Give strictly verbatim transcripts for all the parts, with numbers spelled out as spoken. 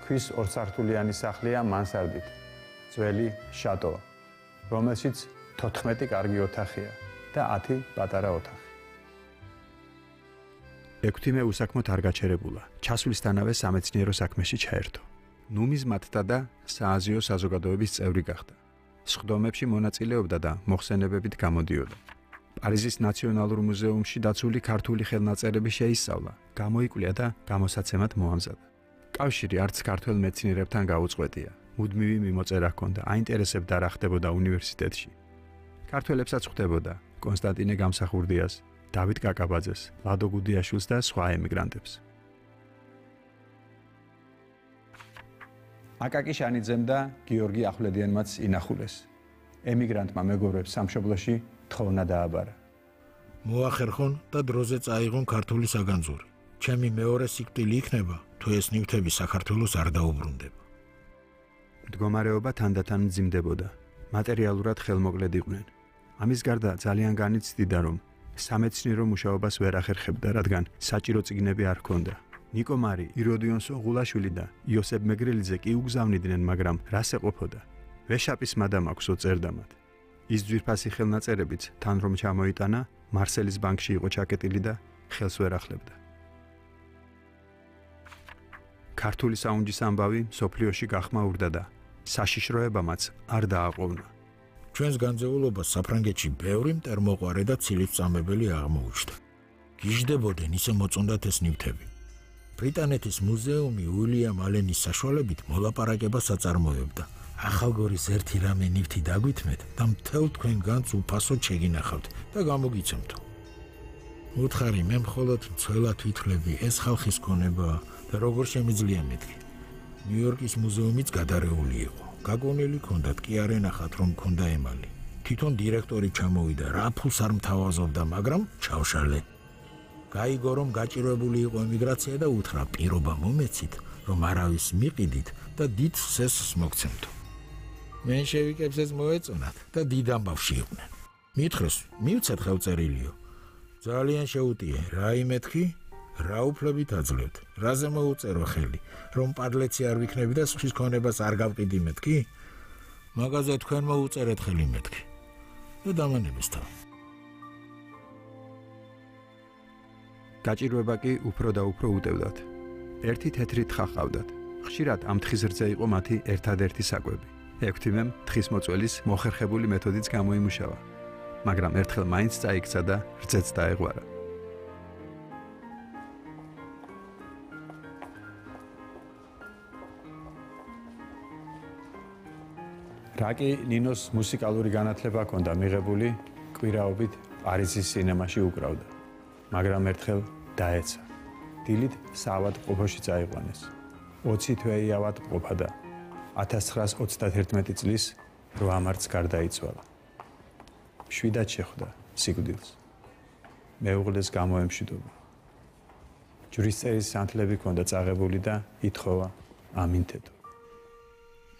ქვის ორსართულიანი სახლია მანსარდით, ძველი შატო, რომელშიც თოთხმეტი კარგი ოთახია და ათი პატარა ოთახი. ექვთიმე უსაქმოდ არ გაჩერებულა, ჩასვლისთანავე სამეცნიერო საქმეში ჩაერთო. ნუმიზმატთა და სააზიო საზოგადოების წევრი გახდა. სხდომებში მონაწილეობდა და მოხსენებებით გამოდიოდა. პარიზის ნაციონალურ მუზეუმში დაცული ქართული ხელნაწერები შეისწავლა, გამოიკვლია და გამოსაცემად მოამზადა. კავშირი არც ქართველ მეცნიერებთან გაუწყვეტია. მუდმივი მიმოწერა ჰქონდა, აინტერესებდა რა ხდებოდა უნივერსიტეტში. ქართველებსაც ხვდებოდა კონსტანტინე გამსახურდიას, დავით კაკაბაძეს, ლადო გუდიაშვილს და სხვა ემიგრანტებს. აკაკი შანიძემ და გიორგი ახვლედიანმაც ინახულეს. ემიგრანტმა მეგობრებს სამშობლოში თხოვნა დააბარა. მოახერხონ და დროზე წაიღონ ქართული საგანძური. ჩემი მეორე სიკვდილი იქნება, თუ ეს ნივთები საქართველოს არ დაუბრუნდება. მდგომარეობა თანდათან მძიმდებოდა. მატერიალურად ხელმოკლედ იყვნენ. ამის გარდა ძალიან განიცდიდა, რომ სამეცნიერო მუშაობას ვერ ახერხებდა, რადგან საჭირო წიგნები არ ჰქონდა. ნიკო მარი, იროდიონ სოღულაშვილი და იოსებ მეგრელიძე კი უგზავნიდნენ, მაგრამ რას ეყოფოდა? ვეშაპის მადამ აქვსო წერდამად. ის ძვირფასი ხელნაწერებიც თან რომ ჩამოიტანა, მარსელის ბანკში იყო ჩაკეტილი და ხელს ვერ ახლებდა. ქართული საუნჯის ამბავი სოფლიოში გახმაურდა და საშიშროებამაც არ დააყოვნა. ჩვენს განძეულობას საფრანგეთში ბევრი მტერმოყვარე და ცილისწამებელი აღმოუჩნდა. გიждდებოდნენ ისე მოწონდათ ეს ნივთები. ბრიტანეთის მუზეუმი უილიამ ალენის საშუალებით მოლაპარაკებას აწარმოებდა. ახალგორის ერთი რამე ნივთი დაგვითმეთ და მთელ თქვენ განს უფასოდ შეგინახავთ და გამოგიცემთო. უთხარი, მე მხოლოდ მცველად ვითვლები, ეს ხალხის ქონება და როგორ შემიძლია მეთქი. ნიუ-იორკის მუზეუმიც გადარეული იყო. გაგონილი ჰქონდათ, კი არ ენახათ რომ ჰქონდა ემალი. თვითონ დირექტორი ჩამოვიდა, რა ფულს არ მთავაზობდა, მაგრამ ჩავშალე. გაიგო რომ გაჭირვებული იყო ემიგრაცია და უთხრა, პირობა მომეცით, რომ არავის მიყიდით და დიდ სესს მოგცემთო. მენშევიკებს ეს მოეწონათ და დიდ ამბავში იყვნენ. მითხრეს, მივცეთ ხელწერილიო. ძალიან შეუტიე, რა იმეთქი? რა უფლებით აძლევთ? რაზე მოუწერო ხელი? რომ პარლეცი არ ვიქნები და სხვის ქონებას არ გავყიდი მეთქი? მაგაზე თქვენ მოუწერეთ ხელი მეთქი. და დამანების თავი. გაჭირვება კი უფრო და უფრო უტევდათ. ერთი თეთრი თხა ჰყავდათ. ხშირად ამ თხის რძე იყო მათი ერთადერთი საკვები. ექვთიმემ თხის მოწველის მოხერხებული მეთოდიც გამოიმუშავა, მაგრამ ერთხელ მაინც წაიქცა და რძეც დაეღვარა. რაკი ნინოს მუსიკალური განათლება ჰქონდა მიღებული, კვირაობით პარიზის სინემაში უკრავდა, მაგრამ ერთხელ დაეცა. დილით საავადმყოფოში წაიყვანეს. ოცი თვეი ავადმყოფა და ათას ცხრაას ოცდაათერთმეტი წლის რვა მარტს გარდაიცვალა. შვიდად შეხვდა სიკვდილს. მეუღლეს გამოემშვიდობა. ჯვრის წერის სანთლები ჰქონდა წაღებული და ითხოვა ამინთეთო.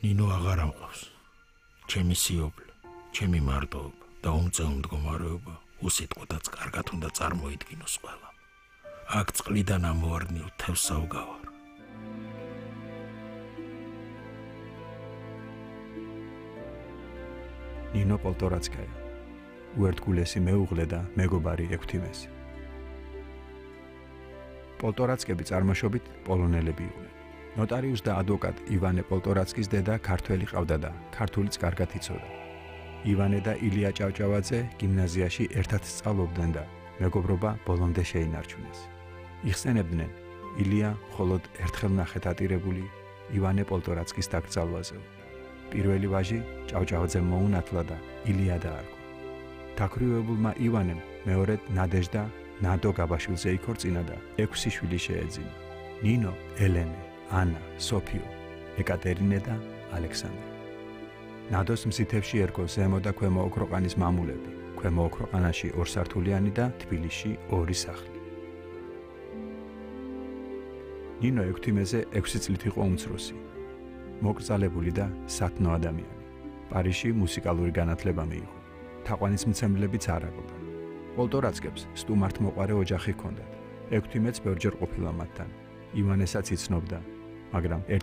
ნინო აღარ ამყავს. ჩემი სიობლე, ჩემი მარტოობა და უმწეო მდგომარეობა უსიტყვოდაც კარგად უნდა წარმოიდგინოს ყველა. აქ წყლიდან ამოვარდნილ თევზს საუგავარ. ნინო პოლტორაცკაია, უერთგულესი მეუღლე და მეგობარი ექვთიმესი. პოლტორაცკები წარმოშობით პოლონელები იყვნენ. ნოტარიუს და ადვოკატ ივანე პოლტორაცკის დედა ქართველი ყავდა და ქართულიც კარგად იცოდა. ივანე და ილია ჭავჭავაძე გიმნაზიაში ერთად სწავლობდნენ და მეგობრობა ბოლომდე შეინარჩუნეს. იხსენებდნენ ილია მხოლოდ ერთხელ ნახეთ ატირებული ივანე პოლტორაცკის დაკრძალვაზე. პირველი ვაჟი ჭავჭავაძემ მოუნათლა და ილია დაარქვა. დაქვრივებულმა ივანემ მეორედ ნადეჟდა ნადო გაბაშვილზე იქორწინა და ექვსი შვილი შეეძინა. ნინო, ელენე, ანა, სოფიო, ეკატერინე და ალექსანდრე. ნადოს მზითებში ერგო ზემო და ქვემო ოქროყანის მამულები, ქვემო ოქროყანაში ორსართულიანი და თბილისში ორი სახლი. ნინო ექვთიმეზე ექვსი წლით იყო უმცროსი. მოკრძალებული და სათნო ადამიანი. პარიზში მუსიკალური განათლება მიიღო. თაყვანისმცემლებიც არ აკლდა. პოლტორაცკებს სტუმართმოყვარე ოჯახი ჰქონდათ. ექვთიმეც ბევრჯერ ყოფილა მათთან. ივანესაც იცნობდა, მაგრამ ერთი